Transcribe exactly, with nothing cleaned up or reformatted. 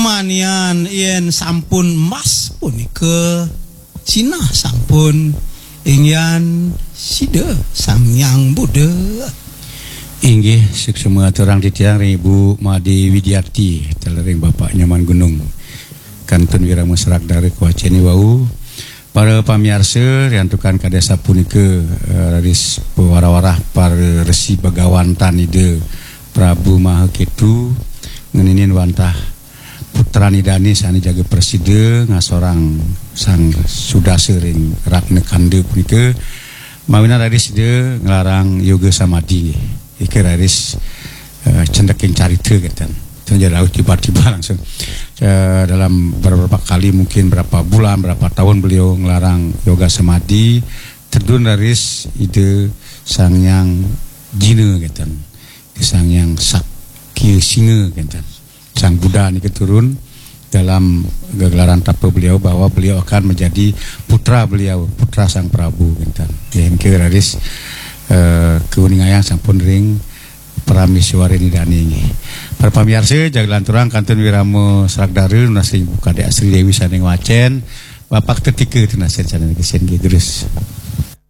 Manian yen sampun mas punika sinah sampun inggihan sida Sang Hyang Buddha. Inggih, suksma aturang titiang ring Ibu Made Widiati, taler ring Bapak Nyoman Gunung. Kantun wirama serak dara kawaceni wau. Para pamiarsa, riantukan kadi sapunika, eh, raris pawarah-warah para resi bagawan tan Ida Prabu Maha Ketu ngeninin wantah putran Idane sane jaga prasida ngasorang Sang Sudasa ring Ratna Kanda punika, mawinan raris Ida nglarang yoga samadi nggih. Ika raris, eh, cendeking carita kenten. Itu aja rauh tiba-tiba langsung. Eh, dalam beberapa kali, mungkin berapa bulan, berapa tahun beliau ngelarang yoga samadi, tedun raris Ida Sang Hyang Jina kenten. Ida Sang Hyang Sakya Singa kenten. Sang Buddha niki turun dalam gegelaran tapa beliau bahwa beliau akan menjadi putra beliau, putra Sang Prabu kenten. Nggih, niki raris, eh, kauningayang sampun ring Prameswari Idane nggih. Para pamiarsa, jaga lanturang kantun wirama serak dara nunas ring Ibu Kadek Sri Dewi sane ngwacen, Bapak Tetika tunas sane niki, sing nggih, terus.